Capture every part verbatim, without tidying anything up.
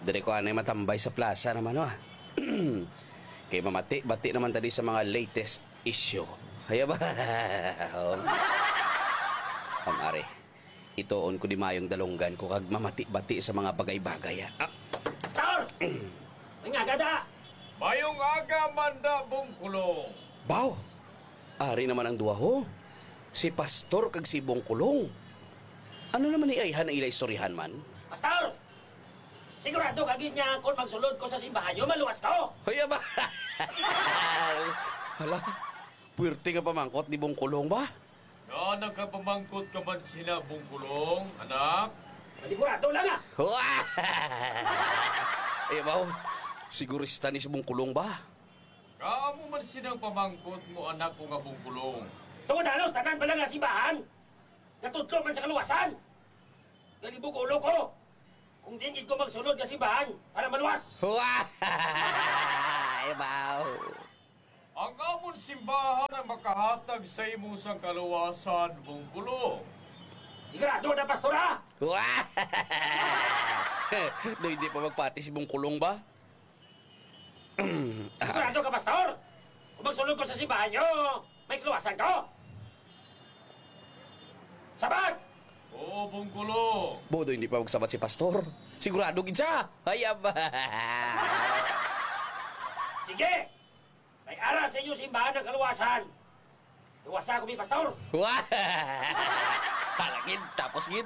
Diri ko anay matambay sa plaza naman, oh. Kay mamati-bati naman tadi sa mga latest issue. Haya ba? Ang ari, ituon ko di mayong dalunggan ko kag mamati-bati sa mga bagay-bagay, ah. Ah, Pastor! May nga gada! Mayong aga, Manda Bungkulong. Baw, ari naman ang duha, ho. Si Pastor kag si Bungkulong. Ano naman ni ayhan ang ila istoryahan man? Pastor! Sigurado ka gid nga kung magsulod ko sa simbahan niyo, maluwas ko! Hoy, aba! Hala, puwerte nga pamangkot ni Bungkulong ba? Nga nagkapamangkot ka man sina Bungkulong, anak? Panigurado lang, ah! Ay, abaw, sigurista ni si Bungkulong ba? Nga amo man sinang pamangkot mo, anak ko nga Bungkulong. Tungod halos tanan pala nga simbahan, natudlo man sa kaluwasan. Galibog ulo ko. Kung di gid ko magsulod nga simbahan para maluwas. Ay, abaw. Ang amon simbahan ang makahatag sa imo sang kaluwasan, Bungkulong. Sigurado na, Pastor, ha? Wah! Do hindi pa magpati si Bungkulong ba? Sigurado ka, Pastor? Kung magsulod ko sa simbahan niyo, may kaluwasan ko? Sabat! Oo, Bungkulong. Bodo, hindi pa magsabat si Pastor. Sigurado gid siya. Ay, aba. Sige! May ara sa inyo simbahan ng kaluwasan. Luwasa ko, mi pastor. Wah! Hala, gid, tapos, gid.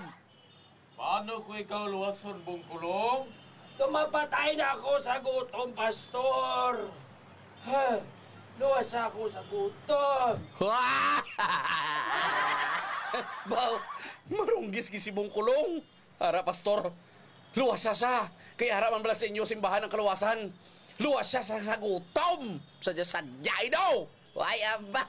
Paano ko ikaw luwason, Bungkulong? Kung mapatay na ako sa gutom, pastor. Ha? Luwasa ako sa gutom. Wah! Baw, marunggis gid si Bungkulong. Ara, pastor, luwasa sa, kay ara man bala sa inyo simbahan ang kaluwasan. Luwasa sa, sa gutom. Sadya-sadya, daw. Ay, aba.